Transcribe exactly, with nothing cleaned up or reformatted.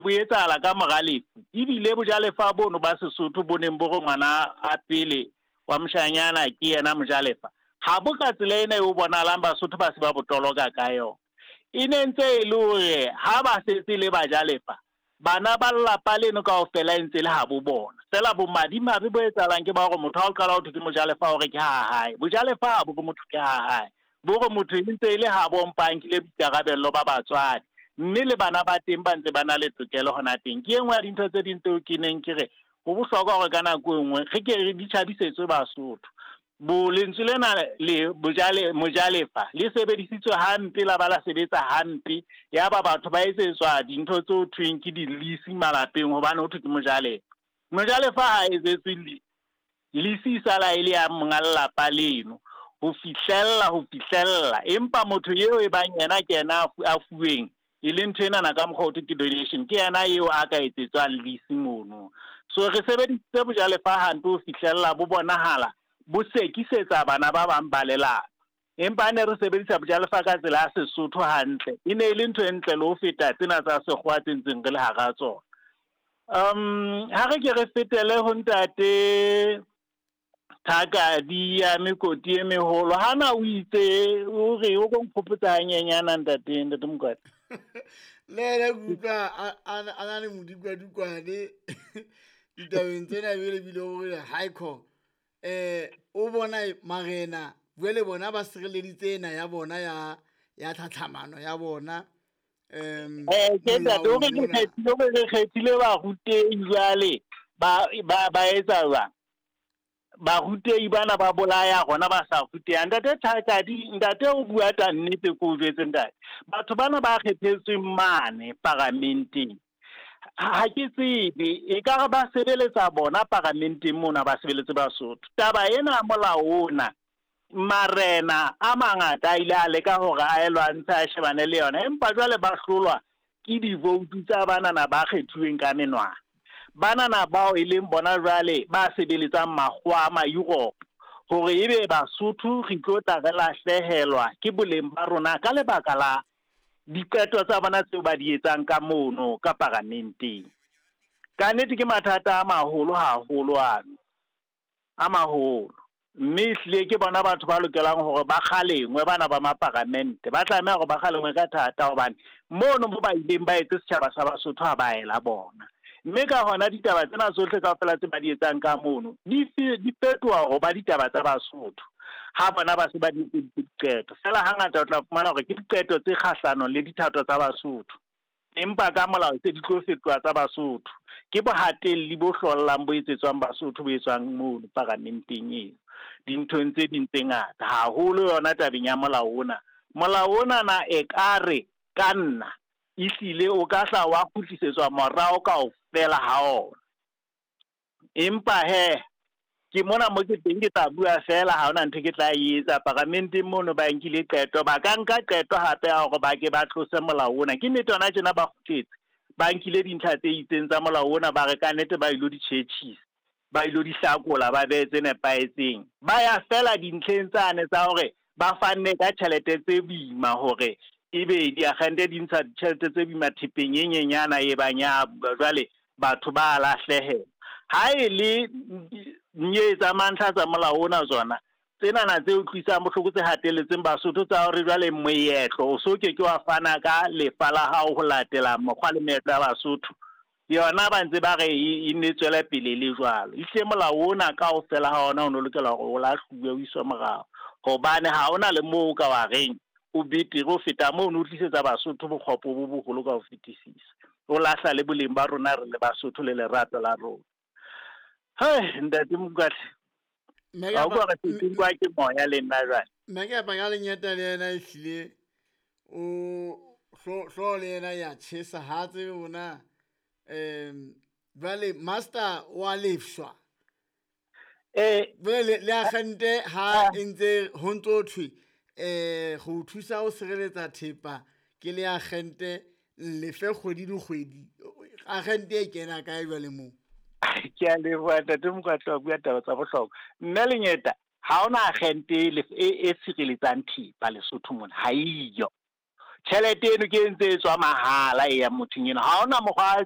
Bo etsahala ka mora lefu. Ebile bojalefa bono ba Sesotho bo neng bo re ngwana a pele wa moshanyana ke yena mojalefa, ha bo ka tsela ena eo bonahalang Basotho ba se ba bo toloka ka yona. E ne ntse e le hore ha ba setse le bajalefa, bana ba lelapa leno kaofela e ntse le ha bo bona. Feela bomadimabe bo etsahalang ke ba hore motho ha o qala ho thwe ke mojalefa hore ke ha hae. Bojalefa ha bo re motho ke ha hae, bo re motho e ntse e le ha bo mpa a nkile boikarabello ba batswadi, mme le bana ba teng ba ntse ba na le tokelo hona teng. Ke e nngwe ya dintho tse ding tseo ke neng ke re ho bohlokwa hore ka nako e nngwe re ke re di tjhabisetswe Basotho. Bo lentswe lena le bojale mojalefa le sebedisitswe hampe, la ba la sebetsa hampe, ya ba batho ba etsetswa dintho tse ho thweng ke di-lease malapeng hobane ho thwe ke mojalefa. Mojalefa ha etsetswe lease, e sala e le ya monga lelapa leno ho fihlella ho fihlella, empa motho eo e bang yena ke yena a fuweng e le ntho enana ka mokgwa ho thwe ke donation, ke yena eo a ka etsetswang lease mono. So re sebedisitse bojalefa hampe ho fihlella bo bonahala bo sekisetsa bana ba bang ba lelapa. Empa ne re sebedisa bojalefa ka tsela ya Sesotho hantle, e ne e le ntho e ntle le ho feta tsena tsa sekgowa tse ntseng re le hara tsona. Um ha re ke re fetele ho ntate Thakadi ya mekoti e meholo. Hana o itse o re o ko nkhopotsa hanyenyana ntate ntate Mokwatla. Le yena ke utlwa a na le modikwadikwane ditabeng tsena, ebile bile o re haikho eh o bona marena jwale bona ba sireleditse ena ya bona ya ya tlhatlhamano ya bona. Um eh ke ntate o re kgethile o re kgethile barutehi jwale ba ba ba etsa jwang? Barutehi bana ba bolaya rona ba sa rutehang. Ntate Thakadi, ntate o bua ta nnete ko o jwetse ntate. Batho bana ba kgethetsweng mane paramenteng, ha ke tsebe ekare ba sebeletsa bona paramenteng mona, ba sebeletse Basotho. Taba ena ya molao ona, marena a mangata a ile a leka hore a e lwantshe a shebane le yona, empa jwale ba hlolwa ke divoutu tsa banana ba kgethuweng ka menwana. Banana bao e leng bona jwale ba sebeletsang makgowa a ma-Europe, hore ebe Basotho re tlo tla re lahlehelwa ke boleng ba rona ka lebaka la diqeto tsa bona tseo ba di etsang ka mono ka paramenteng. Ka nnete ke mathata a maholo haholo ano, a maholo. Mme ehlile ke bona batho ba lokelang hore ba kgalengwe, bana ba maparamente ba tlameha hore ba kgalengwe ka thata, hobane mono mo ba ileng ba etse setjhaba sa Basotho ha ba ela bona. Mme ka hona ditaba tsena tsohle kaofela tse ba di etsang ka mono di di fetoha ho ba ditaba tsa Basotho ha bona ba se ba di etseditse diqeto. Feela hangata o tla fumana hore ke diqeto tse kgahlanong le dithato tsa Basotho, empa ka molao tse di tlo fetoha tsa Basotho. Ke bohatelli bo hlollang bo etsetswang Basotho, bo etswang mono paramenteng eo dinthong tse ding tse ngata, haholo yona tabeng ya molao ona. Molao ona na ekare ka nna ehlile o ka hla wa kgutlisetswa morao kaofela ha ona. Empa he ke mona mo ke teng ke tla bua feela, ha hona ntho ke tla e etsa. Paramenteng mono ba nkile qeto, ba ka nka qeto hape ya hore ba ke ba tlose molao ona. Ke nnete hona tjena ba kgutletse, ba nkile dintlha tse itseng tsa molao ona, ba re ka nnete ba ilo di tjhetjhisa, ba ilo di hlakola, ba behe tse nepahetseng. Ba ya feela dintlheng tsane tsa hore ba fanne ka tjhelete tse boima, hore ebe diakgente di ntsha ditjhelete tse boima thepeng e nyenyana e bang ya jwale batho ba lahlehelwa. Ha e le nye tsa mantlha tsa molao ona tsona tsenana tse utlwisang bohloko tse hatelletseng Basotho tsa hore jwale moetlo o so ke ke wa fana ka lefa la hao ho latela mokgwa le meetlo ya Basotho, yona ba ntse ba re e nne tswele pele le jwalo. Ehlile molao ona kaofela ha ona o no lokela hore o lahluwe o iswe morao, hobane ha ona le moo o ka wa reng o betere ho feta moo, o tlisetsa Basotho bokgopo bo boholo ka ho fetisisa, o lahla le boleng ba rona re le Basotho le lerato la rona. Hei ntate Mokwatla, ha o bua re se ke moya le nna jwale. Nna ke apa ka lenyata le yena ehlile o hlo le yena ya tjhesa, ha tsebe ona um jwale master wa lefshwa. Eh jwale le agente ha e ntse ho ntso thwe eh go thusa o sireletsa thepa ke le agente lefe kgwedi le kgwedi, agente e kena kae jwale moo? Ke a leboha ntate Mokwatla, wa bua taba tsa bohlokwa. Mme Lenyeta, ha hona agente e e sireletsang thepa Lesotho mona, ha eyo. Tjhelete eno ke e ntse e tswa mahala e yang mothong eno, ha hona mokgwa